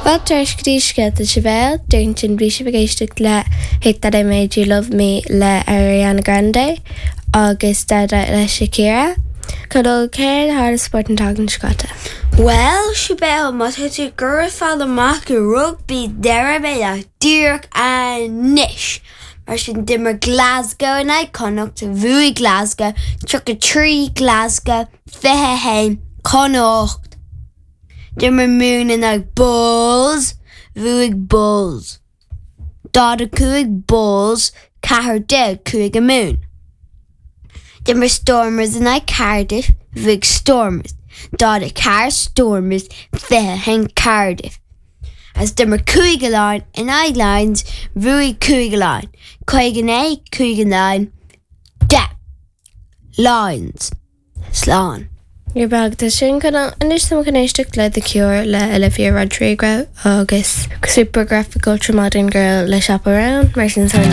Fáilte ar ais go dtí Scéalta Sibéal, ansin bhí sibh ag éisteacht le Hate That I Made You Love Me le Ariana Grande agus Dada le Shakira. Conall, céard a tharla sa spórt an tseachtain seo caite? Bhuel, Sibéal, má tá tú ag iarraidh fáil amach faoi rugbaí déarfaidh mé leat díreach anois! Mar sin, d'imir Glasgow in aghaidh Connacht, bhuaigh Glasgow, 33 Glasgow, 21 Connacht. D'imir Mumhan in aghaidh Bulls, bhuaigh Bulls. 45 Bulls, 14 Cúige Mumhan. D'imir Stormers in aghaidh Cardiff, bhuaigh Stormers. 44 Stormers, 21 Cardiff. Agus d'imir Cúige Laighean in aghaidh Lions, bhuaigh Cúige Laighean. 59 Cúige Laighean, 10 Lions. Slán. Níor bheag de sin Conall. Anois táim chun éisteacht le The Cure le Olivia Rodrigo agus Supergraphic Ultramodern Girl le Chappell Roan, mar sin tá.